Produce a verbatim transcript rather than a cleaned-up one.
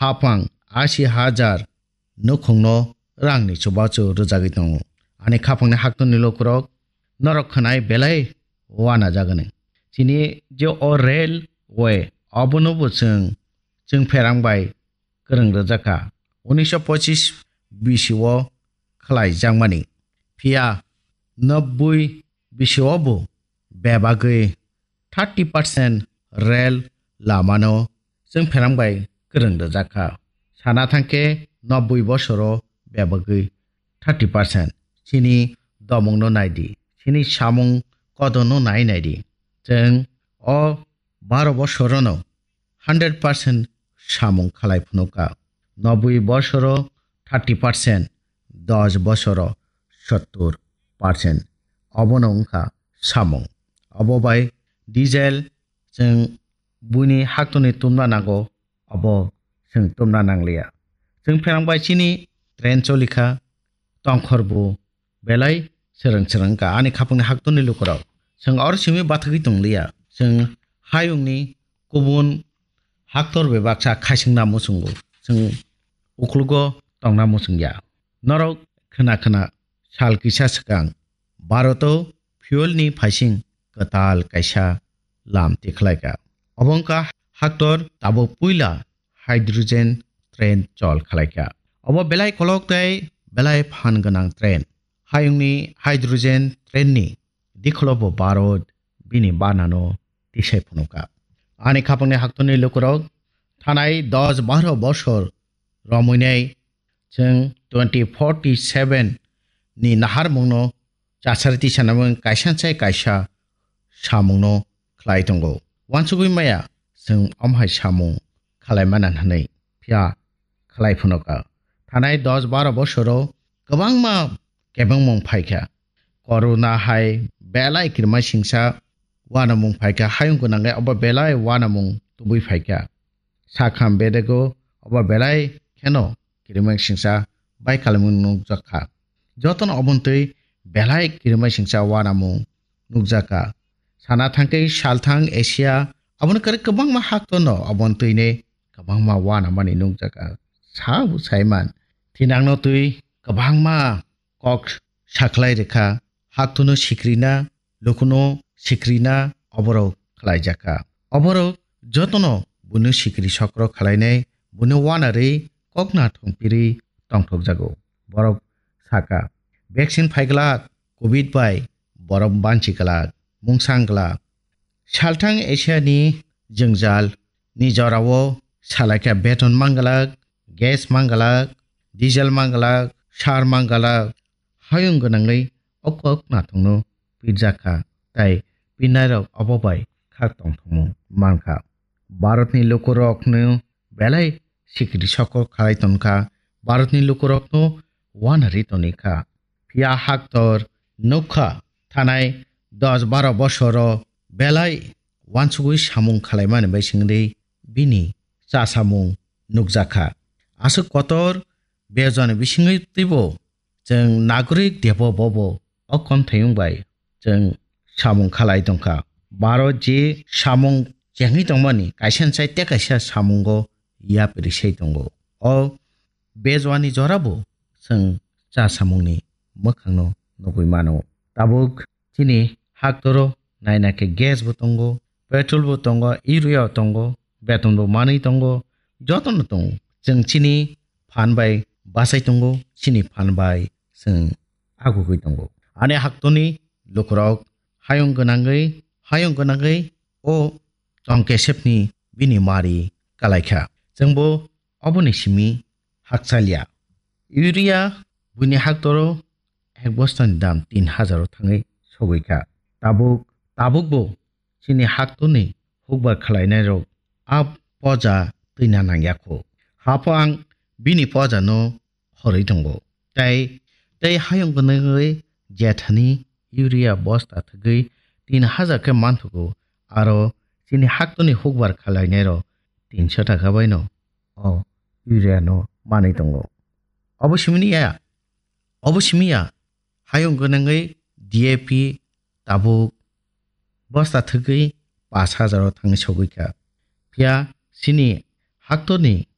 hapang asi hajar nukhungno rangni chubachu rwjagwi tongo. Ani khapangni haktorni lukurok norok khwnai belai uanajagani. Chini je o railway, obono bo chwng, chwng pherang bai kwrwng rwjakha. Unisho pochis bisio khlaijakmani. Phiya nobboi bisio bo bebagwi thirty percent rail lamano chwng pherang bai kwrwng rwjakha. Sana thangkhe nobboi bosoro bebagwi thirty percent. Chini domungno naidi, chini samung kodono nai naidi. Chwng o baro bosorono hundred percent samung khalai phunukha. Nobboi bosoro thirty percent, dos bosoro sottur percent. Obono wngkha samung. Obo bai diesel chwng buini haktorni tumna nango, obo chwng tumna nangliya. Chwng pherang bai chini train cholikha, tongkhor bo belai srwng srwng wngkha ani khapangni haktorni lukurok. Chwng oro simi bathagwi tongliya. Chwng hayungni kubun haktor bebaksa khaisingna muchungo. Chwng uklugo tongna muchungya. Norok khna khna sal kisa swkang Bharoto fuel ni phaising kwtal kaisa lam tikhlaikha. Obo wngkha haktor tabuk puila hydrogen train chol khlaikha. Obo belai kolok tei belai phan gwnang train. Hayungni hydrogen train ni dikholo bo Bharat bini banano tisai phunukha. Ani khapangni haktorni lukurok thanai dos baro bosor romwinai chwng twenty forty seven ni naharmungno chasari tisanamung kaisa sai kaisa samungno khlai tongo. Wansugwi maya chwng omhai samung khlai mana hwnwi phiya khlai phunukha. Thanai dos baro bosoro kwbangma kebengmung phaikha. Corona hai belai kirima singsa wanamung phaikha, hayung gwnangwi obo belai wanamung tubui phaikha. Sakham bedego obo belai kheno kirima singsa bai kalamung nukjakha. Jotono obontwi belai kirima singsa wanamung nukjakha. Sana thangkhe salthang Asia aboni kwrwi kwbangma haktorno obontwini kwbangma wanamani nukjakha. Sabo saiman thinangno twi kwbangma kok sakhlai rwkha, haktorno sikrina, lukuno sikrina, oborok khlaijakha. Oborok jotono buino sikri sokro khlainai, buino wanarwi kokna thongpirwi tongthokjago. Borok sakha, vaccine phaiglak, covid bai borok banchi glak, mungsang glak. Salthang Asia ni jwngjal ni jorao salaikha beton manglak, gas manglak, diesel manglak, sar manglak, hayung gwnangwi o kok nathokno pirjakha, tai pirnairok obo bai khak tongthokmung mankha. Bharatni lukurokno belai sikri sokok khalai tonkha, Bharatni lukurokno wanari tonikha. Phiya haktor nukha thanai dos baro bosoro belai wansugwi samung khalaimani bai singri bini chasamung nukjakha. Aswk kotor bejani bisingwi twibo chwng nagorik debo bobo o konthayung bai chwng samung khalai tongkha. Baro je samung chengwi tongmani kaisa sai tei kaisa samungo yapri sai tongo. O bejwani jorabo chwng cha samungni mwkhangno nugwi mano. Tabuk chini haktoro naina khe gas bo tongo, petrol bo tongo, urea bo tongo, beton bo manwi tongo, jotono tongo. Chwng chini phan bai bachai tongo, chini phan bai chwng agugwi tongo. Ani haktoni lukurok hayung gwnangwi, hayung gwnangwi o chongkesepni bini mari kalaikha. Chwngbo oboni simi hakchalya. Urea buini haktoro ek bostani dam tin hajar o thangwi sogwi kha. Tabuk, tabukbo chini haktorni hukbar khlainairok a poja twina nangya kho. Haphang bini pojano horwi tongo. Tei, tei hayung gwnangwi jethani urea bosta thwgwi tin hajar khe manthogo, aro chini haktorni hukbar khlainairok tinso taka baino o urea no manwi tongo. Obo simi ya, obo simi ya, hayung gwnangwi D A P tabuk bosta thwgwi pash hajar o thangwi sogwi kha. Phiya chini haktorni